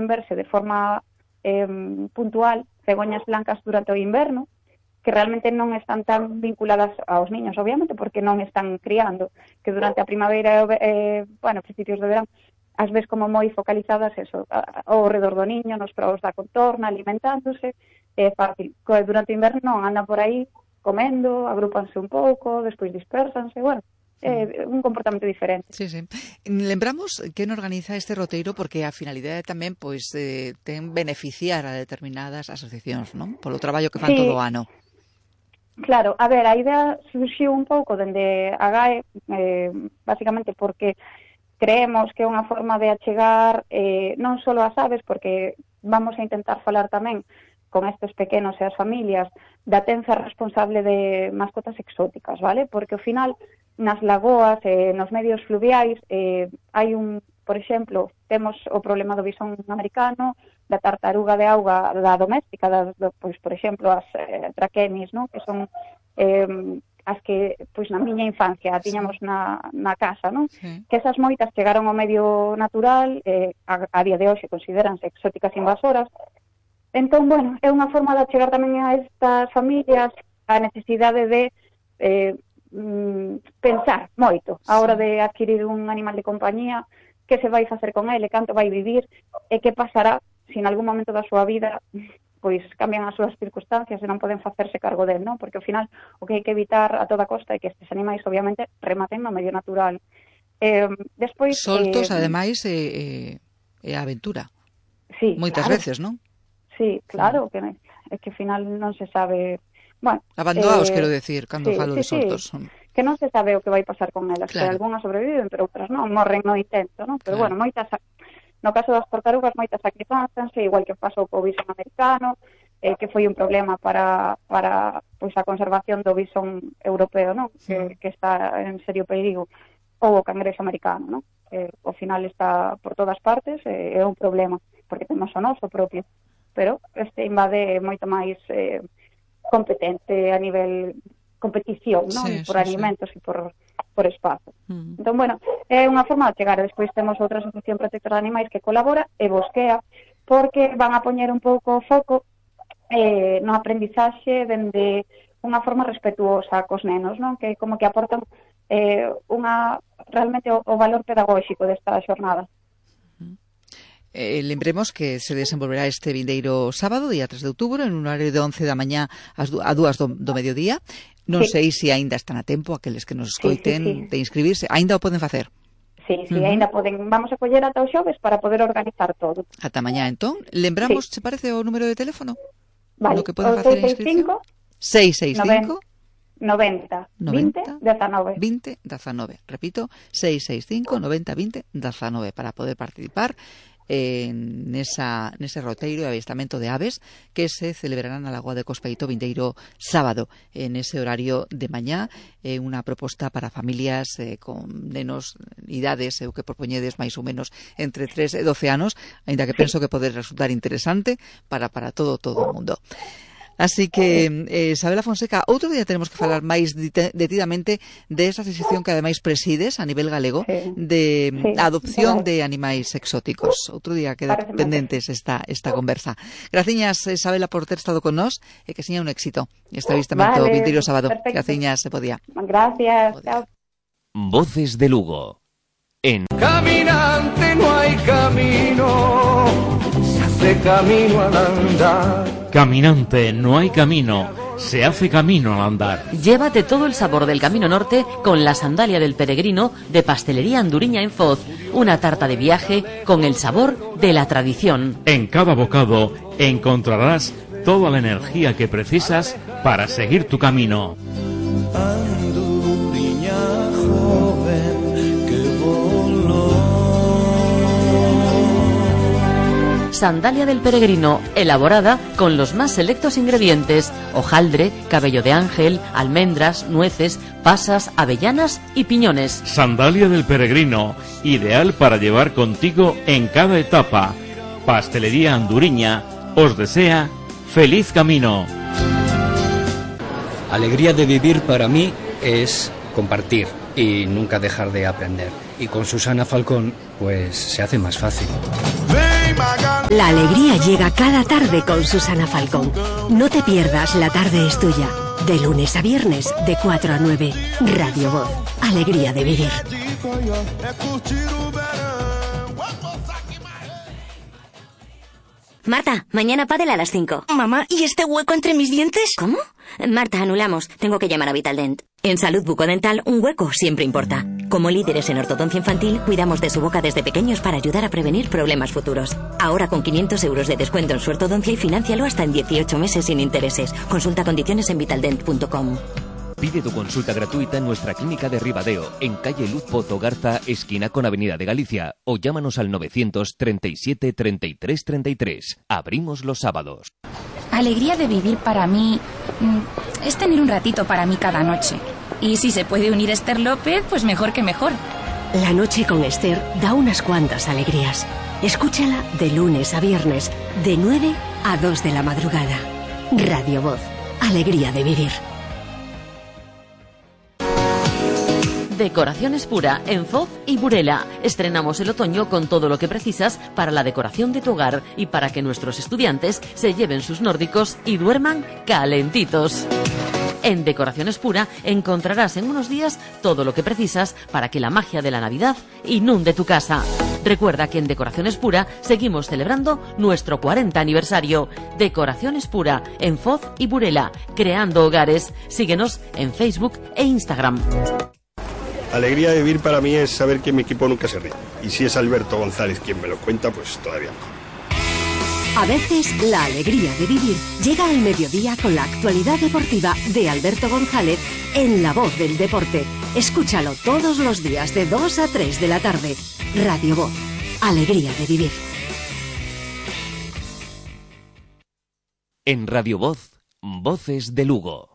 poden verse de forma puntual cegoñas blancas durante o inverno, que realmente non están tan vinculadas aos niños, obviamente, porque non están criando, que durante a primavera e, principios de verán, as ves como moi focalizadas eso, ao redor do niño, nos praos da contorna, alimentándose, é fácil. Durante o inverno non, andan por aí comendo, agrúpanse un pouco, despois dispersanse, un comportamento diferente. Sí. Lembramos que non organiza este roteiro porque a finalidade tamén ten beneficiar a determinadas asociacións, non? Polo traballo que fan todo o ano. Claro, a ver, a idea surxiu un pouco dende a GAE, basicamente porque creemos que é unha forma de achegar non só as aves, porque vamos a intentar falar tamén con estes pequenos e as familias da tenza responsable de mascotas exóticas, vale? Porque ao final nas lagoas e nos medios fluviais hai por exemplo, temos o problema do bisón americano, da tartaruga de auga da doméstica, pois, por exemplo, as traquenis, no? Que son as que, pois, na miña infancia tiñamos na casa, non? Sí. Que esas moitas chegaron ao medio natural, a día de hoxe consideranse exóticas invasoras. Entón, é unha forma de chegar tamén a estas familias a necesidade de pensar moito a hora de adquirir un animal de compañía, que se vai facer con ele, canto vai vivir e que pasará se en algún momento da súa vida pois cambian as súas circunstancias e non poden facerse cargo del, non? Porque ao final o que hai que evitar a toda costa é que estes animais obviamente rematen no medio natural. Despois soltos, ademais, é a aventura. Sí, moitas veces, non? Sí, claro, que é que ao final non se sabe, abandonados, quero decir, cando falo de soltos. Que non se sabe o que vai pasar con elas, claro. Que algunhas sobreviven, pero outras non, morren no intento, non? Pero claro. Moitas, no caso das tartarugas, moitas sacrifícanse, igual que pasou co bisón americano, que foi un problema para pois a conservación do bisón europeo, non? Que está en serio perigo, ou o cangrexo americano, non? Que ao final está por todas partes, é un problema, porque temos o noso propio, pero este invade moito máis competente a nivel competición, non? Por alimentos e por espazo. Entón, é unha forma de chegar. Despois temos outra asociación protectora de animais que colabora e bosquea, porque van a poñer un pouco o foco no aprendizaxe dende unha forma respetuosa cos nenos, non? Que como que aportan realmente o valor pedagóxico desta xornada. Lembremos que se desenvolverá este vindeiro sábado, día 3 de outubro, en un horario de 11 da mañá a 2 do mediodía. Non sei se aínda están a tempo aqueles que nos escoiten de inscribirse. Aínda o poden facer? Sí, aínda poden. Vamos a coller ata o xoves para poder organizar todo. Ata mañá, entón. Lembramos, se parece, o número de teléfono? Vale, no que poden facer a inscripción? 665 90 20 19. 20 19. Repito, 665 90 20 19 para poder participar nese roteiro de avistamento de aves que se celebrará na Lagoa de Cospeito vindeiro sábado en ese horario de mañá. Unha proposta para familias con nenos idades, o que propoñedes máis ou menos entre 3 e 12 anos, aínda que penso que pode resultar interesante para todo o mundo. Así que, Isabela Fonseca, outro día tenemos que falar máis detidamente desa asociación que ademais presides a nivel galego de adopción de animais exóticos. Outro día queda pendentes esta conversa. Graciñas, Isabela, por ter estado con nós e que seña un éxito este avistamento vindeiro sábado. Graciñas, se podía. Gracias, chao. Voces de Lugo. En Caminante no hay camino, se hace camino al andar. Caminante no hay camino, se hace camino al andar. Llévate todo el sabor del Camino Norte con la sandalia del peregrino de Pastelería Anduriña en Foz. Una tarta de viaje con el sabor de la tradición. En cada bocado encontrarás toda la energía que precisas para seguir tu camino. Anduriña joven que voló. Sandalia del peregrino, elaborada con los más selectos ingredientes: hojaldre, cabello de ángel, almendras, nueces, pasas, avellanas y piñones. Sandalia del peregrino, ideal para llevar contigo en cada etapa. Pastelería Anduriña os desea feliz camino. Alegría de vivir para mí es compartir y nunca dejar de aprender. Y con Susana Falcón, pues se hace más fácil. La alegría llega cada tarde con Susana Falcón. No te pierdas La tarde es tuya. De lunes a viernes, de 4 a 9. Radio Voz. Alegría de vivir. Marta, mañana pádel a las 5. Mamá, ¿y este hueco entre mis dientes? ¿Cómo? Marta, anulamos. Tengo que llamar a Vitaldent. En Salud Bucodental, un hueco siempre importa. Como líderes en ortodoncia infantil, cuidamos de su boca desde pequeños para ayudar a prevenir problemas futuros. Ahora con 500 euros de descuento en su ortodoncia y financialo hasta en 18 meses sin intereses. Consulta condiciones en vitaldent.com. Pide tu consulta gratuita en nuestra clínica de Ribadeo, en calle Luz Pozo Garza, esquina con Avenida de Galicia, o llámanos al 937 33 33. Abrimos los sábados. Alegría de vivir para mí es tener un ratito para mí cada noche. Y si se puede unir Esther López, pues mejor que mejor. La noche con Esther da unas cuantas alegrías. Escúchala de lunes a viernes, de 9 a 2 de la madrugada. Radio Voz. Alegría de vivir. Decoraciones Pura en Foz y Burela. Estrenamos el otoño con todo lo que precisas para la decoración de tu hogar y para que nuestros estudiantes se lleven sus nórdicos y duerman calentitos. En Decoraciones Pura encontrarás en unos días todo lo que precisas para que la magia de la Navidad inunde tu casa. Recuerda que en Decoraciones Pura seguimos celebrando nuestro 40 aniversario. Decoraciones Pura en Foz y Burela, creando hogares. Síguenos en Facebook e Instagram. Alegría de vivir para mí es saber que mi equipo nunca se ríe. Y si es Alberto González quien me lo cuenta, pues todavía mejor. A veces la alegría de vivir llega al mediodía con la actualidad deportiva de Alberto González en La Voz del Deporte. Escúchalo todos los días de 2 a 3 de la tarde. Radio Voz. Alegría de vivir. En Radio Voz, Voces de Lugo.